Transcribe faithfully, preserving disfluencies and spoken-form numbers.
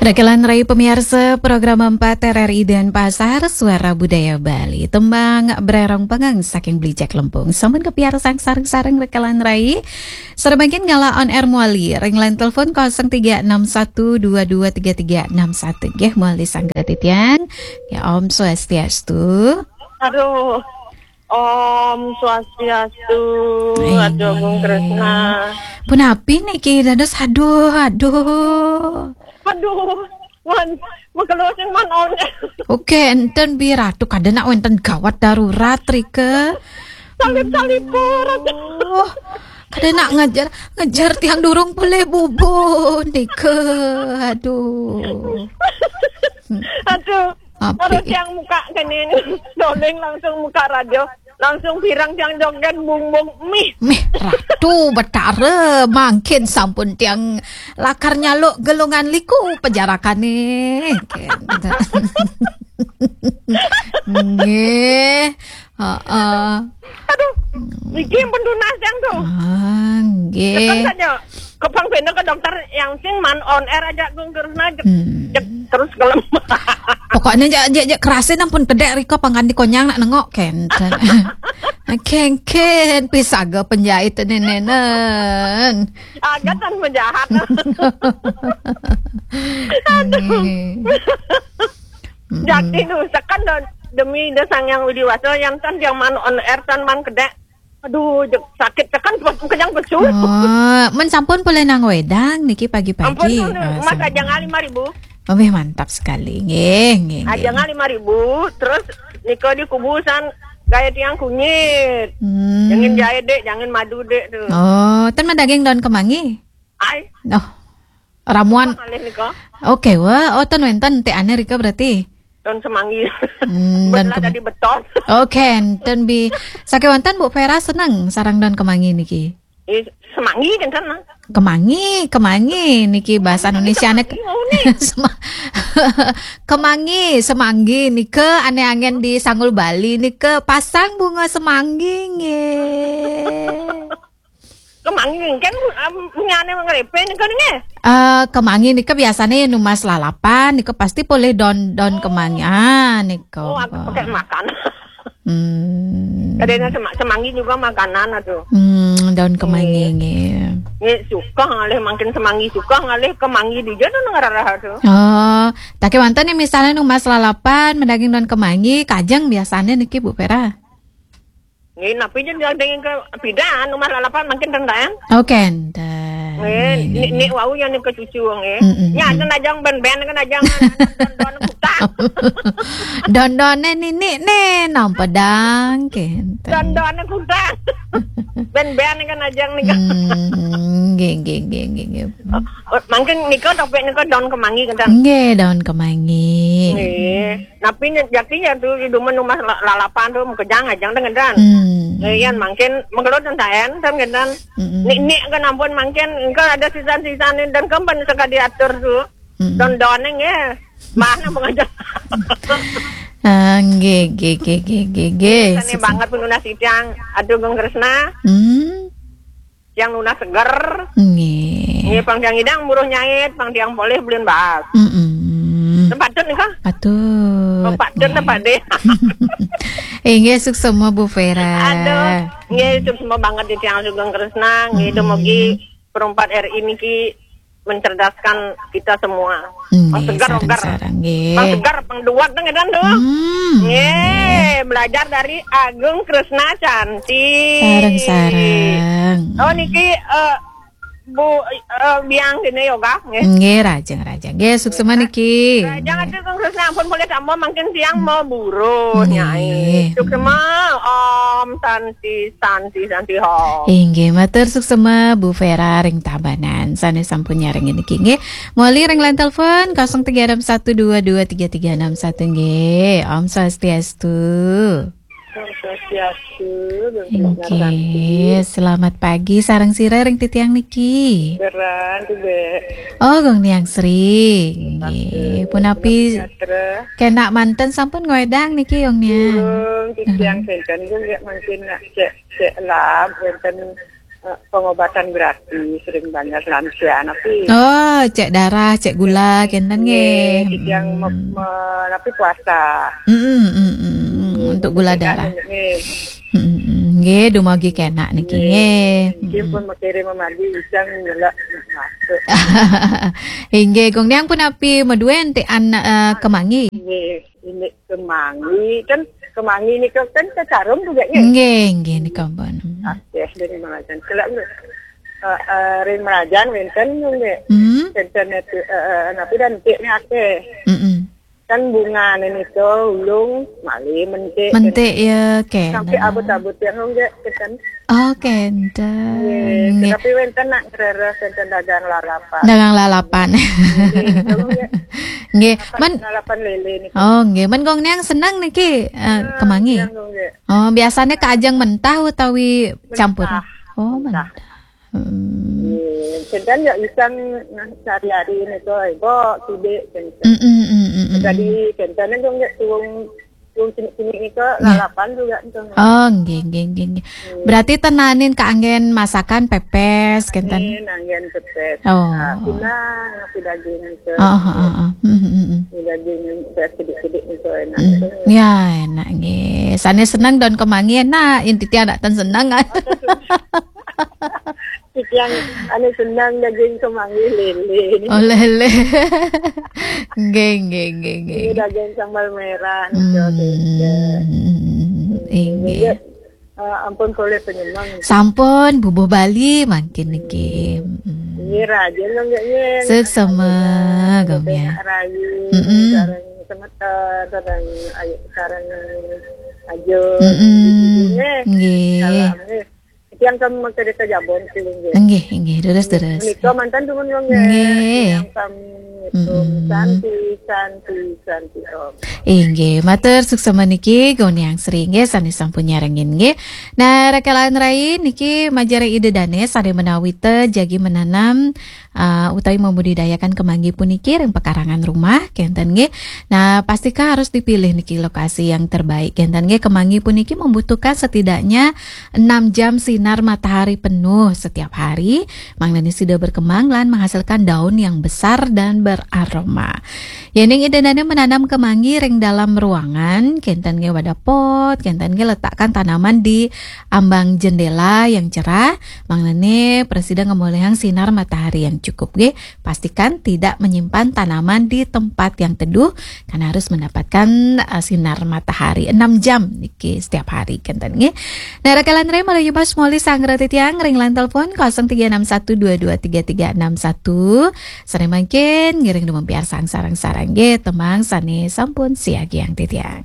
Rekelan rai pamiarsa program empat R R I Denpasar, Suara Budaya Bali. Tembang Brerong Pengeng saking Beli Jack Lempung. Sampun kapiarsang sareng-sareng rekelan rai. Sareng mangkin ngalih on air malih ring line telepon kosong tiga enam satu dua dua tiga tiga enam satu. Nggih, malih sanget titiang. Ya, Om Swastiastu. Aduh. Om Swastiastu. Aduh, Gung Kresna. Punapi niki dados, aduh, aduh. Aduh, wan, makelo sing man on. Oke, enten Bi Ratu, kada nak wenten gawat darurat rika. Salip-salip pun. Aduh. Kada nak ngejar, ngejar tiang durung boleh bubu nika. Aduh. Aduh. Api. Terus yang muka kene doling langsung muka radio, langsung pirang tiang joget bung bung mih. Mih, Ratu Betara, mangkin sampun tiang lakar nyaluk gelungan liku pejarakane. Nggih. Heeh. Aduh, iki pun tunas yang tuh. Ah, nggih. Tekan saja. Kepang benda ke dokter yang sing man on air aja gung terus naik. Hmm. Terus kelem. Pokoknya jak jak jak kerasin ampun kedek rika pangganti konyang nak nengok kenten. Kengken pisaga penjahit nenenen. Agak tan penjahat. Aduh. Jadi nu tekan demi de sang yang Widi Waso yang tan yang man on air tan man kedek. Aduh, sakit tekan kenyang besul. Oh, men sampun boleh nang wedang niki pagi-pagi. Ampun, oh, mas aja ngali lima ribu. Oh, mantap sekali. Nggih, nggih. Aja ngali lima ribu, terus niko di kubusan gaya tiang kunyit. Hmm. Jangan jahit dek, jangan madu dek tuh. Oh, ten daging daun kemangi. Ai. Oh. Ramuan. Ngalih nika. Oke, wah, oh ten wenten te ane rika berarti. Daun semanggi. Hmm, daun kemangi. Jadi beton. Oke, enten Bi. Sakewanten Bu Vera seneng sarang daun kemangi niki. Eh, semanggi kan sana. Kemangi, kemangi niki bahasa Indonesia nek. Kemangi, semanggi nika ane angen di Sanggul Bali nika pasang bunga semanggi nggih. Kemangi kan um, punyane ngrepe nika nggih. Eh, kemangi nika biasane numas lalapan nika pasti polih daun daun kemangi. Ah, nika. Oh, aku pakai makan. Hmm. Kadang semanggi juga makanan aduh. Hmm, daun kemangi nggih. Nggih, suka ngalih mangkin semanggi suka ngalih kemangi dija tuh ngararah tuh. Oh, tapi wonten nih misalnya numas lalapan medaging daun kemangi, kajeng biasanya niki Bu Vera. Nggih, napi jen yang dengan ke pidan numas lalapan mangkin rendahan. Oh, kenten. Nggih, nik wau yang ke cucu nggih. Nya ada najang ben-ben kan najang don-don kutang. Don-done nini ne nampa dang kenten. Don-done kutang. Ben-ben kan najang nih. Hmm, nggih nggih nggih nggih. Mangkin nika topik nika daun kemangi kenten. Nggih, daun kemangi. Nggih. Napi nya jaki ya tu di rumah rumah lalapan tu mukejang ajang dengan dan. Hmm. Yan mangkin mengkelut dan taen dan dengan. Nik nik kan ampun mangkin engkau ada sisan-sisan dan kempen sekali diatur tu. Don-don nggih. Mana pengajar. Ah, nggih nggih nggih nggih nggih nggih. Sane banget penunas tiang. Aduh Gung Kresna. Hmm. Tiang nunas seger. Nggih. Nggih pang tiang idang buruh nyait, pang tiang polih belin bahas. Mm-mm. Patut nika? Patut. Oh, patut nggih. Tempat deh. Inggih suksema Bu Vera. Aduh, nggih suksema banget di tiang Sugeng Kresna, nggih dumugi perempat R I niki mencerdaskan kita semua. Hmm, pang segar, sarang, segar. Sarang, nggih. Pang segar, pang duat nang edan tuh. Hmm. Nggih, belajar dari Agung Kresna Cantik. Sarang, sarang. Oh niki uh, Bu uh, biang sini yoga, nggih. Nggih, rajang, rajang. Nggih, suksema niki. Rajang atuh Agung Kresna ampun boleh tambah mungkin siang mau buruh, nggih. Nyai. Suksema Om Santi Santi Santi Hom. Inggih, matur suksema Bu Vera ring Tabanan. Sane sampun nyarengin niki nggih. Moli ring line telepon kosong tiga enam satu dua dua tiga tiga enam satu nggih. Om Swastiastu. Om Swastiastu. Inggih, selamat pagi sareng sira ring titiang niki. Beran tuh be. Oh, Gung Niang Sri. Inggih, punapi. Kena manten sampun ngwedang niki Gung Niang. Durung titiang kenten Gung ya mungkin nak cek cek lab kenten eh, pengobatan gratis ring banjar lansia, tapi Oh, cek darah, cek gula, kenten nggih. Yang me, me, tapi puasa. Mm-mm, mm-mm. Untuk gula darah. Nggih. Mm-mm. Nggih, dumugi kenak niki nggih. Nggih pun makere mamadi ujang nyelak masuk. Inggih, Gung Niang punapi, madue enti an eh, kemangi. Nggih, ini kemangi kan, kemangi nika kan kecarum juga ya. Nggih, nggih nika pun. Oke, dari Merajan. Kalau eh, eh, ring Merajan wenten nggih. Hmm. Wenten itu eh, eh, napi dan tik ni akeh. Mm-mm. Kan bunga nika ulung malih mentik. Mentik ya, oke. Sampai abut-abut yang nggih kenten. Oh, kenten. Nggih, Nggih. Tapi wenten nak ngereres wenten dagang lalapan. Dagang lalapan. Nggih, itu nggih. Nggih, men Lalapan lele nih. Oh, nggih, men Gung Niang seneng niki eh, kemangi. Yang nggih. Oh, biasanya ke ajeng mentah utawi campur. Oh, mentah. Hmm. Nggih, kenten ya isang nah sehari-hari nika ibu kidik kenten. Mm-mm, mm-mm, mm-mm. Jadi kenten itu nggih tuung tuung cinik-cinik nika lalapan juga itu. Oh, nggih, nggih, nggih, nggih. Berarti tenanin keanggen masakan pepes kenten. Ini nanggen pepes. Oh. Nah, pinang nasi daging itu. Oh, oh, oh, oh. Mm, mm, mm. Nasi daging pepes kidik-kidik itu enak. Mm. Ya, enak nggih. Sane seneng don kemangi enak, inti tiang nak ten seneng. Yang anu senang daging kemangi lele. Oh, lele. Nggih, nggih, nggih, nggih. Ini daging sambal merah. Hmm, Gitu. inggih. Eh, ampun boleh penyemang. Sampun bubuh Bali mangkin niki. Hmm. Ini rajin dong nggih. Suksema, Gung Niang. Rayu, Mm-mm. Sarang semeton, sarang ayu, sarang ajo. Mm-mm. Nggih. Nggih. Salam nggih. Yang kamu cerita Jabon sih nggih. Nggih, nggih, terus terus. Menika mantan dumun dong nggih. Nggih. Yang kamu itu Mm-mm. santi santi santi om. Inggih, matur suksema niki Gung Niang Sri nggih sane sampun nyarengin nggih. Nah, rekan-rekan rai niki majeng ida dane sane menawi te jagi menanam uh, utawi membudidayakan kemangi puniki ring pekarangan rumah kenten nggih. Nah, pastika harus dipilih niki lokasi yang terbaik kenten nggih. Kemangi puniki membutuhkan setidaknya enam jam sinar matahari penuh setiap hari. Mangdane sida berkembang lan menghasilkan daun yang besar dan beraroma. Yening ida dane menanam kemangi ring dalam ruangan, kenten nggih wadah pot, kenten nggih letakkan tanaman di ambang jendela yang cerah, mangdane prasida ngemolihang sinar matahari yang cukup nggih. Pastikan tidak menyimpan tanaman di tempat yang teduh karena harus mendapatkan uh, sinar matahari enam jam niki setiap hari kenten nggih. Nah, rekan-rekan rai malih malih sanggra titiang ring line telepon kosong tiga enam satu dua dua tiga tiga enam satu. Sane mangkin ngiring dumempiarsang sareng-sareng nggih tembang sane sampun siagiang titiang.